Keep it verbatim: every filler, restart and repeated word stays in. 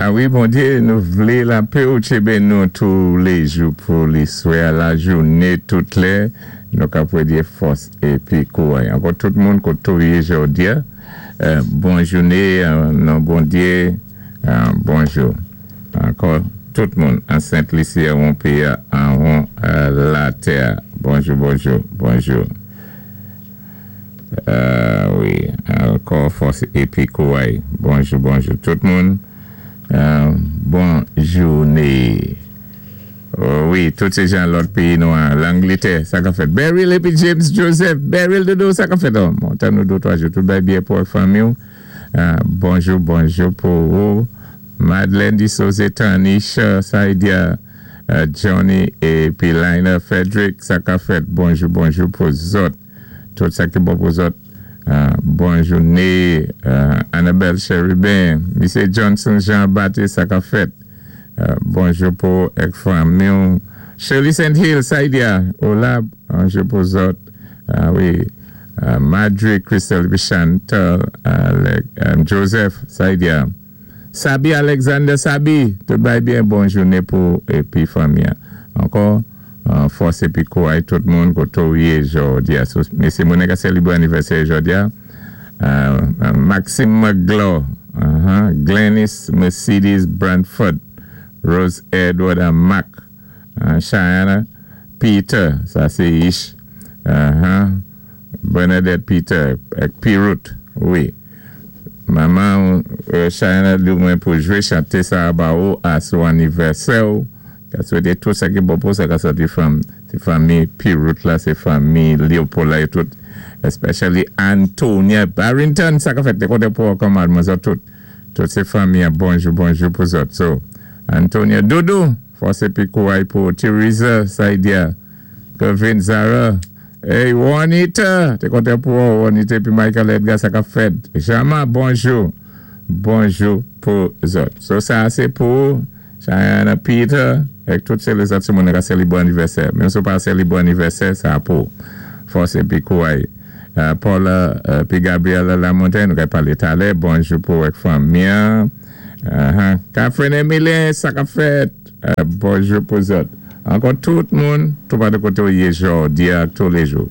A wi, Bondyé, nou vlé lapè ou tjénbé nou touléjou pou liswè, lajounen, tout lè, nou ka pwédyé fòs épi kouway. Ankò tout moun koto yé jòdi-a, bon jounen, non Bondyé, bonjou. Ankò tout moun, an Sent Lisi, an péyi, an latè. Bonjou, bonjou, bonjou. Wi, ankò fòs épi kouway. Bonjou, bonjou tout moun. Bon jounen. Wi, tout sé jan lòt péyi nou an. Langlétè, sa ka fèt. Beryl épi James Joseph. Beryl dodo, sa ka fèt. Bon, tan nou do twa jou. Tout bay byen pou fanmi ou. Bonjou, bonjou pou ou. Madeleine Di Souze, Tanisha, Saidia, Johnny épi Lina Frederick, sa ka fèt. Bonjou, bonjou pou zòt. Tout sa ki bon pou zòt. Bon jounen. Annabelle Cherubin, Misye Johnson Jean-Baptiste, sa ka fèt. Bonjou pou èk fanmi ou. Shirley Saint Hill, Saidia, hola, bonjou pou zòt. Wi, Madre Crystal Chantal, Joseph, Saidia. Sabi Alexander Sabi, tout bay byen bon jounen pou épi fanmi. Ankò, fòs épi kouway tout moun koto yé jòdi-a. Mesye moun ka sélébwé anivèsè jòdi-a. Maxime McGlaw, Glennis Mercedes Brandford, Rose Edward and Mac, Cheyenne Peter, sa sé Ish, Bernadette Peter, Pirut, wi. Manman Cheyenne di mwen pou jwé chanté sa ba ou a sou anivèsè ou. Ka swété tout sa ki bon pou sa ka sòti fanmi Pirut la, sé fanmi Leopold la é tout. Especially Antonia Barrington, sa ka fèt té kontan pou kòman mwen tout. Tout sé fanmi bonjou, bonjou pou zòt. So, Antonia Dodo, fòs épi kouway pou Teresa Saidia, Kevin Zara, hey Juanita, té kontan pou Juanita épi Michael Edgar, sa ka fèt. Jama, bonjou, bonjou pou zòt. So, sa sé pou Cheyenne Peter, èk tout sé lézòt sé moun ka sélébwé anivèsè. Menm si ou pa sélébwé anivèsè, sa pou fòs épi kouway. Paula épi Gabriela Lamontagne, nou ka palé talè. Bonjou pou èk fanmi. Catherine Emile, sa ka fèt. Bonjou pou zòt. Ankò tout moun, tout pa de koté yé jòdi-a touléjou.